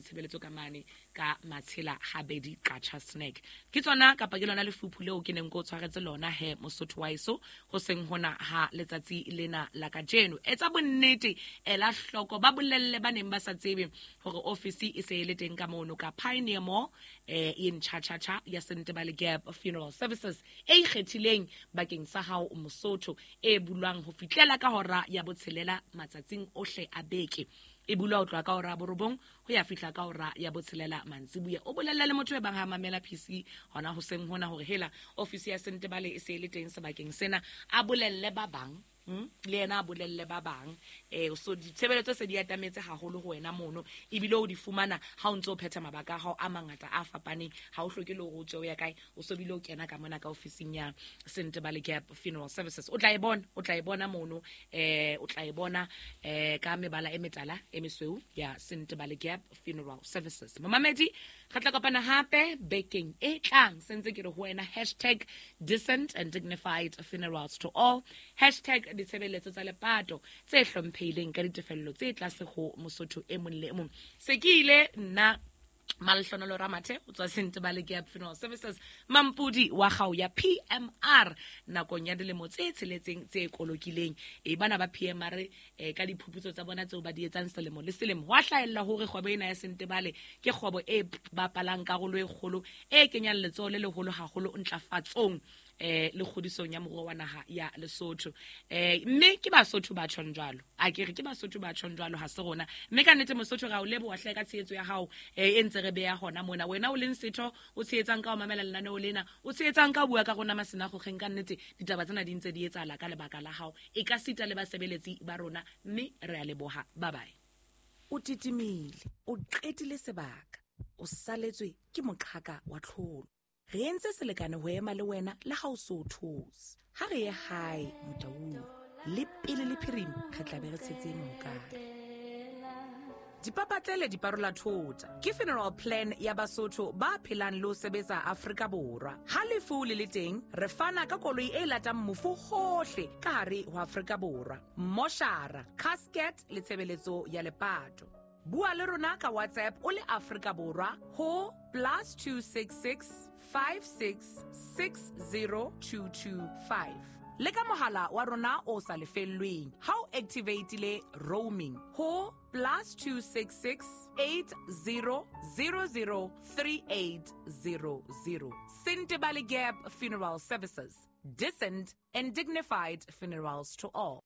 ditshebeletso ka mane ka Matshela Habedi Qacha Snack. Ke tsona kapa ke lona lefuphu leo ke neng ke o tshwaretse lona he Mosotho wa eso ho seng hona ha letsatsi lena la kajeno. Etsa bonnete, ela hloko, ba bolelle ba neng ba sa tsebe hore ofisi e se e le teng ka mono ka Pioneer Mall e ntjha-tjha-tjha ya Sentebale Gap Funeral Services e ikgethileng bakeng sa hao Mosotho, e bulwang ho fihlela ka hora ya botshelela matsatsing ohle a beke. E bulwa ho tloha ka hora ya borobong ho ya fihla ka hora ya botshelela mantsibuya. O bolelle le motho e bang ha mamela PC hona hoseng hona hore hela ofisi ya Sentebale e se e le teng sebakeng sena, a bolelle ba bang. Le yena a bolelle ba bang. So ditshebeletso se di atametse haholo ho wena mono, ebile o di fumana ha o ntse o phetha mabaka a hao a mangata a fapaneng. Ha o hloke le hore o tswe o ya kae, o so bile o kena ka mona ka ofising ya Sentebale Gap Funeral Services. O tla e bona, o tla e bona mono, o tla e bona ka mebala e metala e mesweu ya Sentebale Gap Funeral Services. Momamedi, re tla kopana hape bekeng e tlang. Sentse ke re ho wena hashtag decent and dignified funerals to all, hashtag ditshebeletso tsa lepato tse hlomphehileng ka ditefello tse tlase ho Mosotho e mong le e mong. Se ke ile nna Malehlohonolo Ramathe o tswa Sentebale Gap Funeral Services, mampodi wa kgau ya PMR nakong ya dilemo tse tsheletseng tse kolokileng. E bana ba PMR ka diphuputso tsa bona tseo ba di etsang selemo le selemo, hwa hlahella hore kgwebo ena ya Sentebale ke kgwebo e bapalang karolo e kgolo e kenyang letsoho le leholo haholo ntlafatsong le kgodisong ya moruo wa naha ya Lesotho. Mme ke Basotho ba tjhong jwalo, a ke re ke Basotho ba tjhong jwalo, ha se rona. Mme ka nnete Mosotho ra o leboha hle ka tshehetso ya hao e ntse re beya hona mona. Wena o leng setho, o tshehetsang ka ho mamela lenaneo lena, o tshehetsang ka ho bua ka rona masenagogeng, ka nnete ditaba tsena di ntse di etsahala ka lebaka la hao, e ka sita le basebeletsi ba rona, mme re a leboha. Bye bye. O titimile, o qetile sebaka, o saletswe ke moqhaka wa tlholo. Re entse selekane ho ema le wena le ha o so o thotse. Ha re ye hae Motaung, le pele le phirima re tla be re tshetse mohokare. Dipapatlele di parola thota ke funeral plan ya Basotho ba phelang le ho sebetsa Afrika Borwa. Ha lefu le le teng, re fana ka koloi e latang mofu hohle ka hare ho Afrika Borwa, moshara, casket le tshebeletso ya lepato. Bua le rona ka WhatsApp o le Afrika Borwa ho +266 5660225 le ka mohala wa rona o sa lefellweng ha o activatile roaming ho +266 80003800. Sentebale Gap Funeral Services, decent and dignified funerals to all.